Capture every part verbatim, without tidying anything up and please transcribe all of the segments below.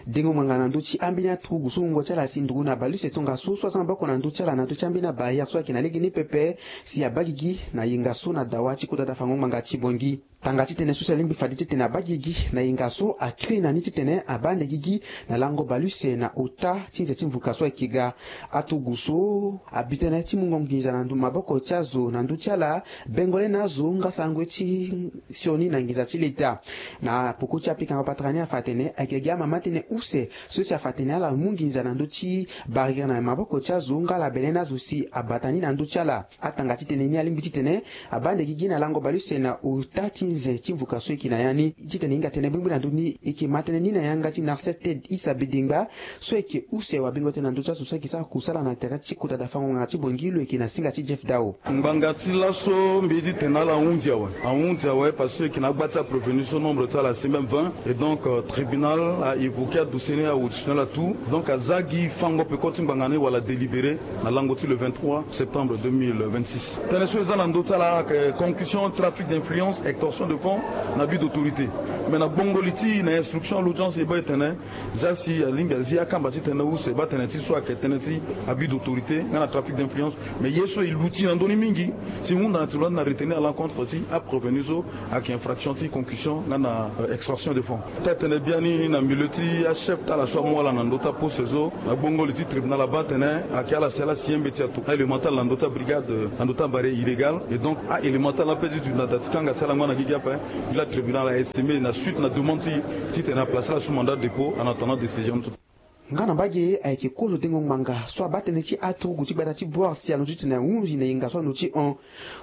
Dengo ngbanga na ndö ti ambeni aturugu so wungo ti ala asi nduru na baleuse tongaso so aza maboko na ndö ti ala na ndö ti ambeni abarrière so ayeke na legeni pepe, si abaa gigi na yenga so na dawa ti kota da fango ngbanga ti Bangui. Tanga titene so si alingbi fade titene abaa gigi na yenga so akiri na ni titene abaa ande gigi na lango baleuse na ota ti nze ti mvuka so ayeke ga. Aturugu so abi tënë ti mungo nginza na maboko ti azo na ndö ti ala, bengole na azo nga sarango ti sioni na nginza ti leta. Na poko ti apikango patara ni afa atene ayeke gi amama tënë use so si afa atene ala mu nginza na ndö ti barrière na maboko ti azo nga ala bele na azo si abata ni na ndö ti ala. Atanga titene ni alingbi titene abaa ande gigi na lango baleuse na ota ti nze ti mvuka so eke na ya ni. Titene hinga tënë bringbi na ndö ni eke ma tënë ni na yanga ti Narcisse Ted Issa Bedengba, so eke use wabingo tënë na ndö ti azo so eke sara kusala na tere ti kota da fango ngbanga ti Bangui lo eke na singa ti Jeff Dao. Ngbanga ti laso mbi ye ti tene ala ahunzi awe, ahunzi awe parce que eke na agba ti aprévenu so nombre ti ala asi même vingt. Et donc euh, tribunal a évoqué adossier ni, aauditionné ala tout. Donc aza gi fango peko ti ngbanga ni wala délibéré na lango ti le vingt-trois septembre deux mille vingt-six. Tënë so eza na ndö ti ala ayeke concussion, trafic d'influence, extorsion de fonds na abus d'autorité. Mais na gbongo li ti e na instruction l'audience e baa e tene za si alingbi azi akamba ti tënë use baa tënë ti so ayeke tënë ti abus d'autorité nga na trafic d'influence. Mais ye so e luti na ndö ni mingi si e hunda na tribunal ti na retenir à l'encontre ti aprévenu so ayeke infraction ti concussion nga na euh, extorsion de fonds. Ti atene biani na milieu ti achef ti ala so amu ala na ndö ti aposte so, na gbongo li ti tribunal abaa atene ayeke ala si ala signé mbeti ato, aélément ti ala na ndö ti abrigade, na ndö ti abare illégal. Et donc aélément ti ala ape ti duti na da ti kanga si ala ngba na gigi ape. Gi la tribunal a estimé na suite na demande ti titene aplace ala sous mandat de dépôt en attendant décision ti. Nga na mbage ayeke kozo dengo ngbanga so abaa tënë ti aturugu ti gbata ti Boer si alondo titene ahunzi na yenga so alondo ti hon.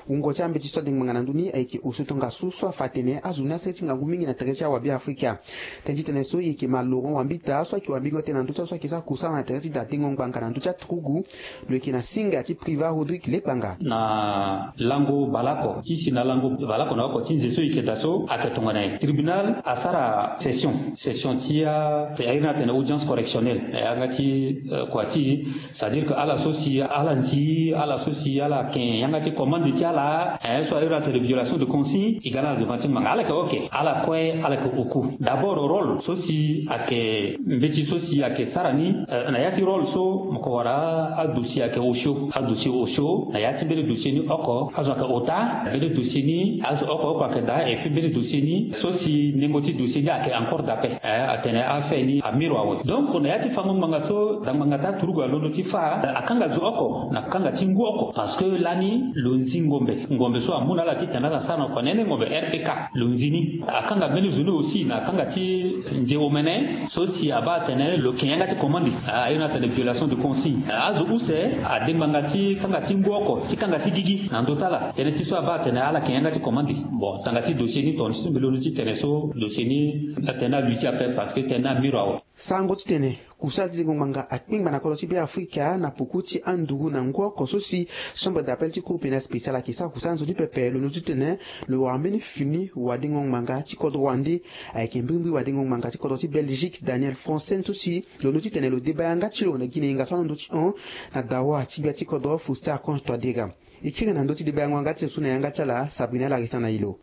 Wungo ti ambeti so adengo ngbanga na ndö ni ayeke osio tongaso so afa atene azo ni asere ti ngangu mingi na tere ti awabe afrika. Tënë ti tënë so e yeke ma Laurent Wambita so ayeke wambingo tënë na ndö ti azo so ayeke sara kusala na tere ti da dengo ngbanga na ndö ti aturugu. Lo yeke na singa ti Privat Rodrigue Lekpanga. Na lango baleoko ti si na lango baleoko na oko ti nze so e yeke daa so ayeke tongana nyen? Tribunal asara session, session ti a, airi ni atene audience correctionnelle na yanga ti kua ti e. C'est-à-dire que ala so si ala nzi, ala so si ala yeke yanga ti commande ti ala, eh, so airi atene violation de consigne, e ga na ala devant ti ngbanga. Ala yeke ok, ala kue ala yeke oku. D'abord rôle so si ayeke mbeti so si ayeke sara ni, eh, na ya ti rôle so mo ko wara adossier ayeke osio, adossier osio na ya ti mbeni dossier ni oko azo ayeke ota, mbeni dossier ni azo oko oko ayeke daa, et puis mbeni dossier ni so si nengo ti dossier ni ayeke en cours d'appel, eh, atene affaire ni amiro awe. Donc na ya ti fango ngbanga so da ngbanga ti aturugu alondo ti fâ, eh, akanga zo oko na kanga ti ngu oko parce que lani lo nzi ngombe, ngombe so amu na ala titene ala sara na kua nene ngombe R P K. Lo nzi ni akanga mbeni zo ni aussi na kanga ti nze omene so si abaa atene lo yeke yanga ti commande, airi ni atene violation de consigne. Azo use ade ngbanga ti kanga ti ngu oko ti kanga ti gigi na ndö ti ala, tënë ti so abaa atene ala yeke yanga ti commande. Bon, tanga ti dossier ni tongana ti so mbi londo ti tene so dossier ni atene alui ti ape parce que tënë ni amiro awe. Sango titene kusala ti dengo ngbanga akpengba na kodro ti Beafrika na poko ti anduru na ngu oko so si chambre d'appel ti cour pénale spéciale ayeke sara kusala nzoni pepe. Lo londo titene lo wara mbeni fini wadengo ngbanga ti kodro wande. Ayeke mbirimbiri wadengo ngbanga ti kodro ti Belgique Daniel Fransen so si lo londo titene lo deba yanga ti lo na gi na yenga so alondo ti hon na dawa ti gbia ti kodro Faustin Archange Touadéra. E kiri na ndö ti deba yango yanga ti lo so na yanga ti ala Sabrina Larissa na e lo.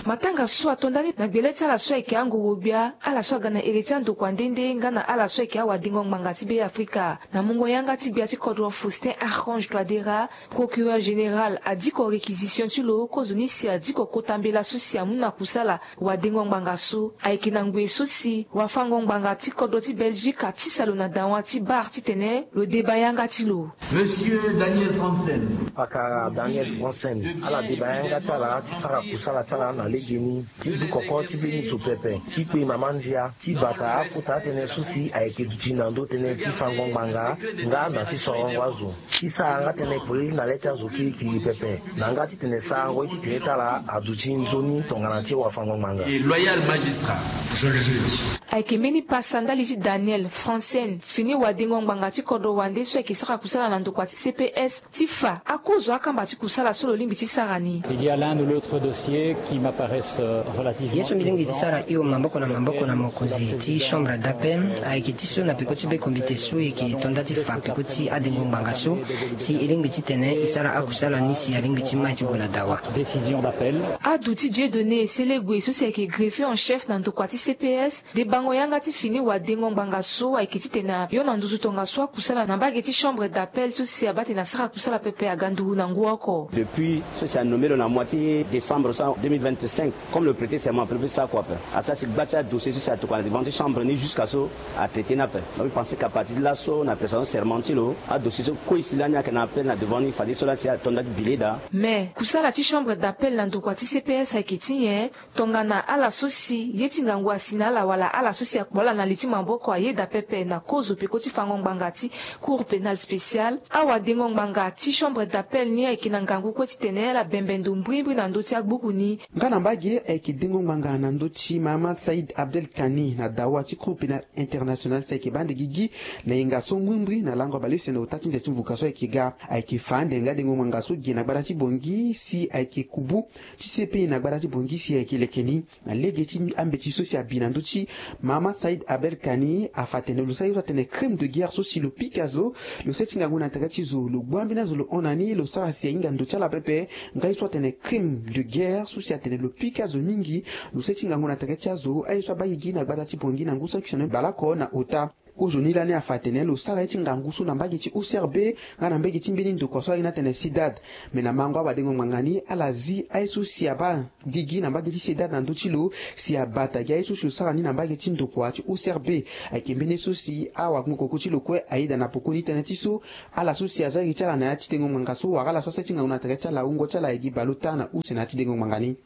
Matanga so ato ndani na gbele ti ala so ayeke angoro-gbia, ala so aga na ere ti andokua nde nde nga na ala so ayeke awadengo ngbanga ti Beafrika na mungo yanga ti gbia ti kodro Faustin Archange Touadéra. Procureur général adiko réquisition ti lo kozoni si adiko kota mbela so si amu na kusala wadengo ngbanga so. Ayeke na ngoi so si wafango ngbanga ti kodro ti Belgique atisa lo na dawa ti bar titene lo deba yanga ti lo. Monsieur Daniel Fransen. Pakara Daniel Fransen, ala deba yanga ti ala ti sara kusala ti ala na legeni ti dukoko ti mbeni zo pepe ti kpe mama ndia ti bata akota atënë so si ayeke duti na ndö tënë ti fango ngbanga nga na ti sorongo azo. Ti sara nga tënë polele na le ti azo kirikiri pepe na nga titene sarango ye ti tere ti ala aduti nzoni tongana ti wafango ngbanga. Et loyal magistrat, je le jure. Ayeke mbeni pasa ndali ti Daniel Francen, fini wadengo ngbanga ti kodro wande so ayeke sara kusala na ndokua ti C P S, ti fa akozo akamba ti kusala so lo lingbi ti sara ni. Il y a l'un ou l'autre dossier qui m'apparaissent, euh, relativement urgents. Ye so mbi lingbi ti sara hio maboko na maboko na mokonzi ti chambre d'appel ayeke ti so na peko ti be komite so e yeke to nda ti fa peko ti adengo ngbanga so, si e lingbi titene e sara akusala ni si alingbi ti mai ti gue na dawa. Décision d'appel. Adu ti Dieudonné Selegue so si ayeke greffier en chef na ndokua ti C P S, de bango yanga ti fini wadengo ngbanga so ayeke titene ayo na nduzu tongaso akusala na mbage ti chambre d'appel so si abaa tene asara kusala pepe aga nduru na ngu oko. Depuis so si anommé lo na mois ti décembre so deux mille vingt-cinq, comme le prêter serment pepe sa kua ape, asara si gba ti adossier so si atokua na devant ti chambre ni jusqu'à so atraité ni ape. Donc mbi pensé qu'à partir ti laso na prestation serment ti lo adossier so kue si lani ayeke na appel na devant ni fadeso lani si ato nda ti bileda. Mais kusala ti chambre d'appel na ndokua ti C P S ayeke ti nyen? Tongana ala so si ye ti ngangu asi na ala wala ala so si akpo ala na li ti maboko ayeda pepe na kozo peko ti fango ngbanga ti Cour pénale spéciale, awadengo ngbanga ti chambre d'appel ni ayeke na ngangu kue titene ala bembe ndo mbrimbri na ndö ti agbuku ni. Nga na mbage ayeke dengo ngbanga na ndö ti Mahamat Saïd Abdel Kani na dawa ti Cour pénale internationale si ayeke baa nde gigi na yenga so mbrimbri na lango baleuse na ota ti nze ti mvuka so ayeke ga. Ayeke fa ande nga dengo ngbanga so gi na gbata ti Bangui si ayeke kubu ti C P I na gbata ti Bangui si ayeke leke ni. Na lege ti ambeti so si abi na ndö ti Mahamat Saïd Abel Kani afa atene lo sara ye so atene crime de guerre so si lo pika zo, lo sara ye ti ngangu na tere ti zo, lo gbu ambeni azo lo hon na ni, lo sara si ahinga ndo ti ala pepe. Nga ye so atene crime de guerre so si atene lo pika zo mingi, lo sara ye ti ngangu na tere ti azo, aye so abaa gigi na gbata ti Bangui na ngu saki sioni baleoko na ota. Kozoni lani afa atene lo sara ye ti ngangu so na mbage ti O C R B nga na mbage ti mbeni ndokua so aye ni atene CIDAD. Me na mango awadengo ngbanga ni ala zi aye so si abaa gigi na mbage ti CIDAD na ndö ti lo si abata gi aye so si lo sara ni na mbage ti ndokua ti O C R B. Ayeke mbeni ye so si awagbongokoko ti lo kue ayeda na poko ni tënë ti so ala so si aza iri ti ala na ya ti dengo ngbanga so wala ala so asara ye ti ngangu na tere ti ala wungo ti ala ayeke gi baleota na use na ya ti dengo ngbanga ni.